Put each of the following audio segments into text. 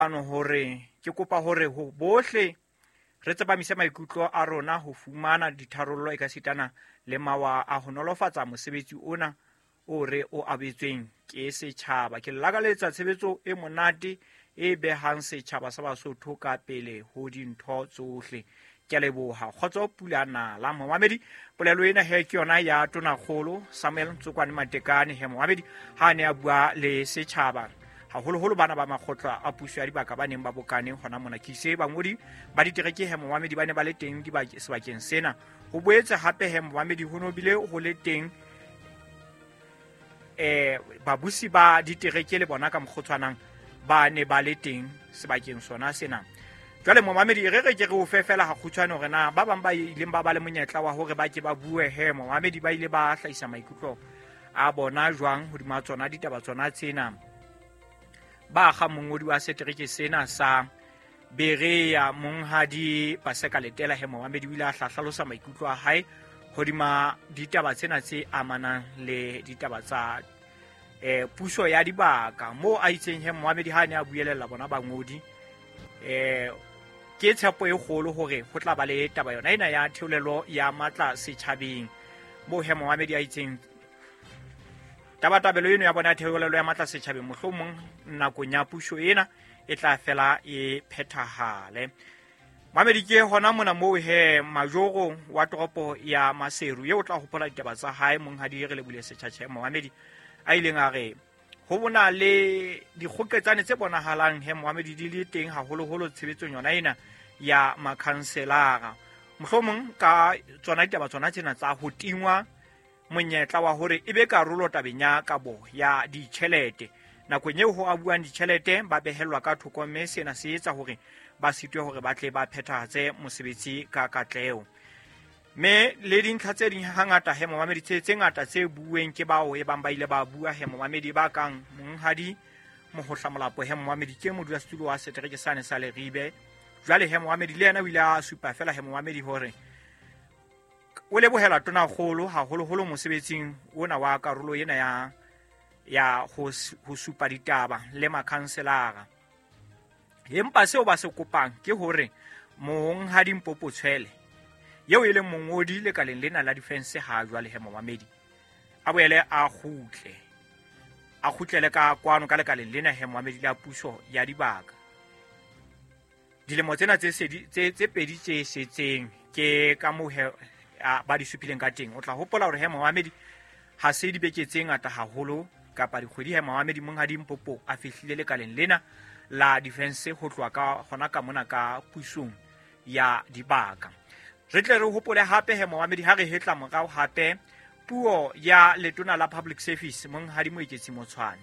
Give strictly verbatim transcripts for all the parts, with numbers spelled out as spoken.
Hore ke kopa hore ho bohle re tsepamise maikutlo a rona ho fumana ditharollo ekasitana le mawa a ho nolofatsa mosebetsi ona o re o abetsweng ke setjhaba. Ke lakaletsa tshebetso e monate e behang setjhaba sa Basotho ka pele ho dintho tsohle. Ke a leboha. Kgotso pula nala. Momamedi, polelo ena he ke yona ya Tonakgolo Samuel Ntsokwane Matekane he momamedi ha ne a bua le setjhaba, haholoholo bana ba makgotla a puso ya dibaka ba neng ba bokane hona mona. Ke ise bangodi ba ditereke he momamedi ba ne ba le teng sebakeng sena. Ho boetse hape he momamedi ho no bile ho le teng eh babusi ba ditereke le bona ka mokgotshwanang ba ne ba le teng sebakeng sona sena. Jwale momamedi re re ke re o fe fela ha kgutshwane hore na ba bang ba ileng ba ba le monyetla wa hore ba ke ba bue he momamedi ba ile ba hlahisa maikutlo a bona jwang hodima tsona ditaba tsona tsena. Ba ga mongodi wa setereke sena sa Berea monghadi Paseka Letela he momamedi o ile a hlalosa maikutlo a hae hodima ditaba tsena tse amanang le ditaba tsa eh puso ya dibaka, moo a itseng he momamedi ha ne a buelella bona bangodi eh ke tshepo e kgolo hore ho tla ba le taba yona ena ya theolelo ya matla setjhabeng, moo he momamedi a itseng tabatabelo eno ya bona theolelo ya matla setjhabeng mohlomong nakong ya puso ena e tla fela e phethahale. Mamedi ke hona mona moo he majoro wa toropo ya Maseru eo tla hopola ditaba tsa hae monghadi re lebule setjhatjhe momamedi a ileng a re ho bona le dikgoketsane tse bonahalang he momamedi di le teng haholoholo tshebetsong yona ena ya makhanselara, mohlomong ka tsona ditaba tsona tsena tsa ho tingwa monyetla wa hore e be karolo tabeng ya kabo ya ditjhelete. Nakong eo ho abuang ditjhelete ba behellwa ka thoko, mme sena se etsa hore ba sitwe hore ba tle ba phethahatse mosebetsi ka katleho. Mme le dintlha tse ding hangata he momamedi tse tse ngata tse bueng ke bao e bang ba ile ba bua he momamedi ba kang monghadi Mohohla Molapo he momamedi ke modulasetulo wa setereke sane sa Leribe. Jwale he momamedi le yena o ile a supa fela he momamedi hore o lebohela Tonakgolo haholoholo mosebetsing ona wa karolo ena ya ya ho ho supa ditaba le makhanselara. Empa seo ba se kopang ke hore monghadi Mpopo Tshwele eo e leng mongodi lekaleng lena la defense ha jwale he momamedi a boele a kgutle a kgutlele ka kwano ka lekaleng lena he momamedi la puso ya dibaka. Dilemo tsena tse tse tse pedi tse setseng ke ka moo he ba di supileng ka teng. O tla hopola hore he momamedi ha se dibeke tse ngata haholo kapa dikgwedi he momamedi monghadi Mpopo a fihlile lekaleng lena la defense ho tloha ka hona ka mona ka pusong ya dibaka. Re tle re hopole hape he momamedi ha re hetla morao hape puo ya letona la public service monghadi Moeketsi Motshwane.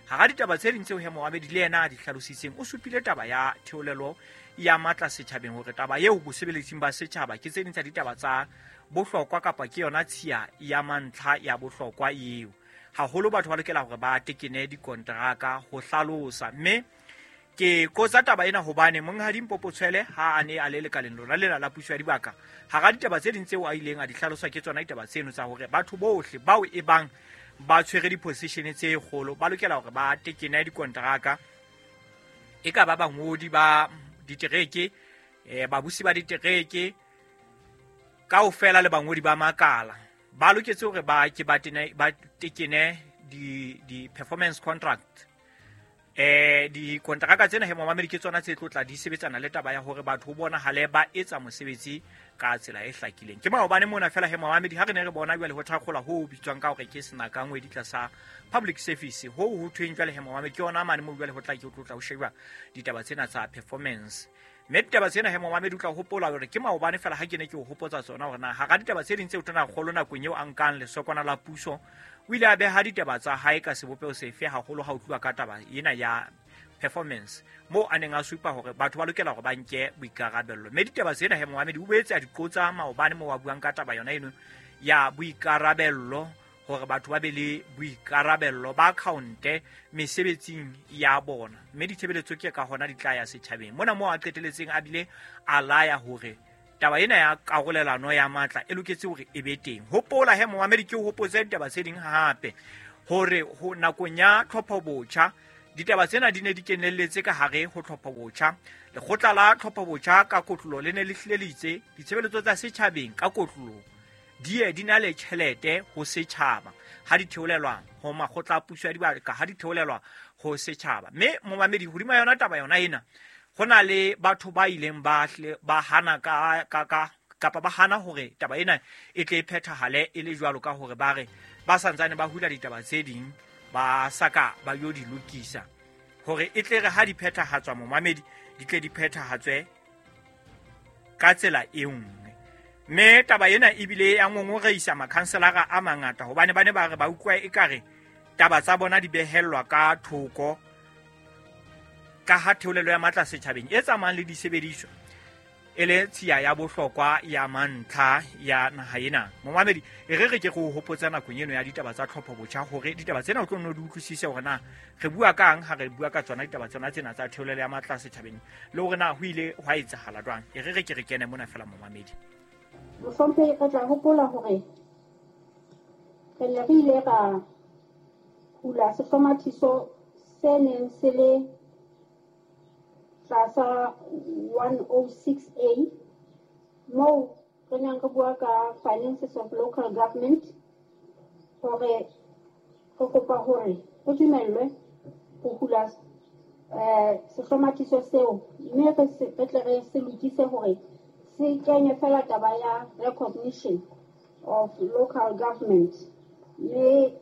Hara ditaba tse ding tseo he momamedi le yena a di hlalositseng, o supile taba ya theolelo ya matla setjhabeng hore taba eo bosebeletsing ba setjhaba ke tse ding tsa ditaba tsa bohlokwa kapa ke yona tshiya ya mantlha ya bohlokwa eo. Haholo batho ba lokela hore ba tekene dikonteraka ho hlalosa, mme ke qotsa taba ena hobane monghadi Mpopo Tshwele ha a ne a le lekaleng lona lena la puso ya dibaka, hara ditaba tse ding tseo a ileng a di hlalosa ke tsona ditaba tseno tsa hore batho bohle bao e bang ba tshwere di-position tse kgolo ba lokela hore ba tekene dikonteraka, e ka ba bangodi ba ditereke, eh, babusi ba ditereke kaofela le bangodi ba makala ba loketse hore ba ke ba tene ba tekene di di performance contract. Eh dikonteraka tsena he momamedi ke tsona tse tlotla di sebetsana le taba ya hore batho bona hale ba etsa mosebetsi ka tsela e hlakileng. Ke maobane mona fela he momamedi ha re ne re bona jwale ho thakgola ho bitswang ka hore ke senaka ngwedi tlasa public service ho ho thweng jwale he momamedi ke yona mane mo jwale ho tla ke tlotla ho sheba ditaba tsena tsa performance. Mme ditaba tsena he momamedi o tla hopola hore ke maobane fela ha ke ne ke o hopotsa tsona hore na hara ditaba tse ding tse tona kgolo nakong eo a nkang lesokwana la puso o ile a beha ditaba tsa hae ka sebopeho sefe haholo ha o tluwa ka taba ena ya performance, moo a neng a supa hore batho ba lokela hore ba nke boikarabello. Mme ditaba tsena he momamedi o boetse a di qotsa maobane moo a buang ka taba yona eno ya boikarabello, hore batho ba be le boikarabello ba account-e mesebetsing ya bona, mme ditshebeletso ke ka hona di tla ya setjhabeng. Mona moo a qeteletseng a bile a laya hore taba ena ya karolelano ya matla e loketse hore e be teng. Hopola he momamedi ke o hopotse ditaba tse ding hape hore ho nakong ya tlhopho botjha Ditaba tsena di ne di kenelletse ka hare ho tlhopho botjha. Lekgotla la tlhopho botjha ka kotlolo le ne le hlile le itse ditshebeletso tsa setjhabeng ka kotlolo di ye di na le tjhelete ho setjhaba ha di theolelwa ho makgotla a puso ya dibaka, ha di theolelwa ho setjhaba. Mme momamedi, hodima yona taba yona ena, ho na le batho ba ileng ba ba hana ka ka ka kapa ba hana hore taba ena e tle e phethahale e le jwalo ka hore ba re ba santsane ba hula ditaba tse ding ba saka ba yo di lokisa hore e tle re ha di phethahatswa momamedi di tle di phethahatswe ka tsela e nngwe. Mme taba ena ebile ya ngongoreisa makhanselara a mangata hobane ba ne ba re ba utlwa ekare taba tsa bona di behellwa ka thoko ka ha theolelo ya matla setjhabeng e tsamayang le disebediswa e le tshiya ya bohlokwa ya mantlha ya naha ena. Momamedi, e re re ke go hopotsa nakong eno ya ditaba tsa tlhopho botjha hore ditaba tsena o tlo nno di utlwisise hore na re bua kang ha re bua ka tsona ditaba tsona tsena tsa theolelo ya matla setjhabeng le hore na ho ile hwa etsahala jwang. E re re ke re kene mona fela momamedi. Mohlomphehi, re tla hopola hore re ne re ile ra hula sehlomathiso se neng se le tlasa one oh six A moo re neng re bua ka finances of local government, hore re kopa hore re dumellwe ho hula eh sehlomathiso seo, mme re tle re se lokise hore se kenye fela taba ya recognition of local government, mme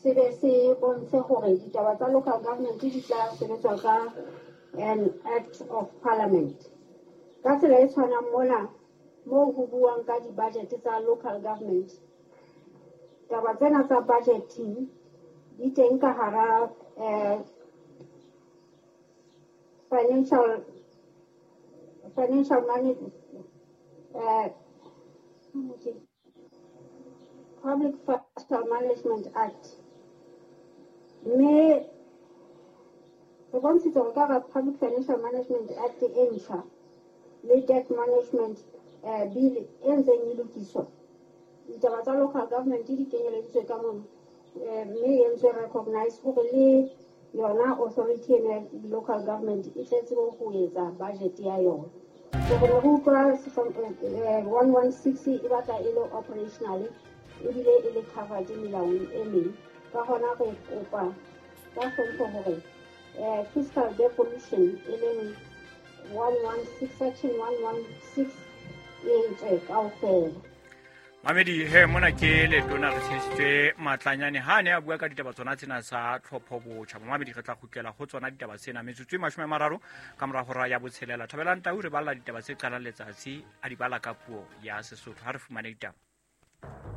se be se bontshe hore ditaba tsa local government di tla sebetswa ka an act of parliament. Ka tsela e tshwanang mona moo ho buang ka di-budget tsa local government, taba tsena tsa budgeting di teng ka hara eh, financial financial management Uh, Public Financial Management Act. Mme re bontshitse hore ka hara Public Financial Management Act e ntjha le Debt Management uh, Bill e ntseng e lokiswa, ditaba tsa local government di kenyeleditswe ka mono, mme e entswe recognize hore le yona authority eno ya local government e tle tsebe ho etsa budget ya yona. So re utlwa one one six e batla e le operational ebile e le covered melaong e meng. Ka hona re kopa ka hlompho hore fiscal devolution e leng one one six section one one six e tswe kaofela. Mamedi, he mona ke letona re tshedisitswe Matlanyane ha ne a bua ka ditaba tsona tsena tsa tlhopho botjha. Mamedi, re tla kgutlela ho tsona ditaba tsena metsotso e mashome a mararo ka mora hora ya botshelela. Thabelang Tau re balla ditaba tse qalang letsatsi a di bala ka puo ya Sesotho. Ha re fumane ditaba.